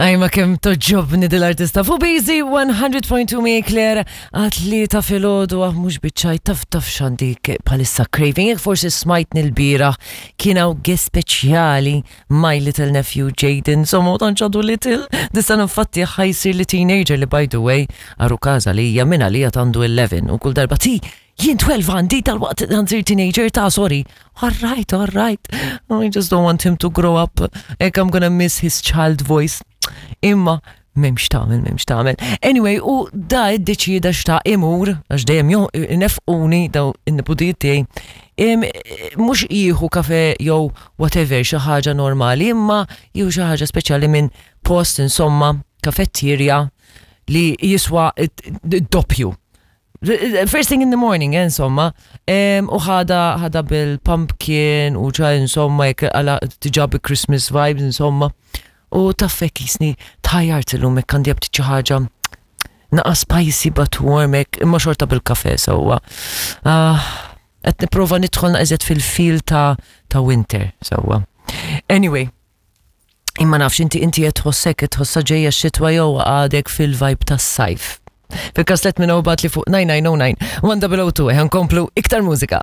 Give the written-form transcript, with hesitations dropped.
Aj ma kemm toġobni dil-artista fu Busy 100.2 mi Claire għat li ta' filgħodu għah mhux biċċaj taf taf x'għandi bħalissa craving. Jekk forsi smajtni l-bieraħ kien hawn guest speċjali my little nephew Jaden, insomma ma tantx għadu little. Dis-sena infatti ħa jsir li teenager li by the way għaru każa li hija minn għalija għandu 11 u kull darba ti jien 12 għandi tal-waqt għanżir teenager ta' sorry. All right, all right. I just don't want him to grow up. Ek I'm gonna miss his child voice. Imma memx tagħmel, memx tagħmel. Anyway, u da iddeċieda xta' imur, għax dejjem nefquni daw in-nipudijiet tiegħi, mhux jieħu kafe jew whatever xi ħaġa normali, imma jieħu xi ħaġa speċjali minn post insomma kafettirja li jiswa d-doppju. First thing in the morning, eh, insomma. U ħada ħada bil-pumpkin u ċa insomma jekk għala diġà bi Christmas vibes insomma. U taffek jisni tħajjart illum hekk għandi ftit xi ħaġa naqa spicy but warm hekk imma xorta bil-kafe sewwa. Ah, qed nipprova nidħol naqżet fil-feel ta' ta' winter sewwa. Anyway, Imma nafx inti inti qed tħossek qed tħossha ġejja x-xitwa jew għadek fil-vibe tas-sajf. Fil-każ let minn li fuq 9909 1 002 nkomplu iktar mużika.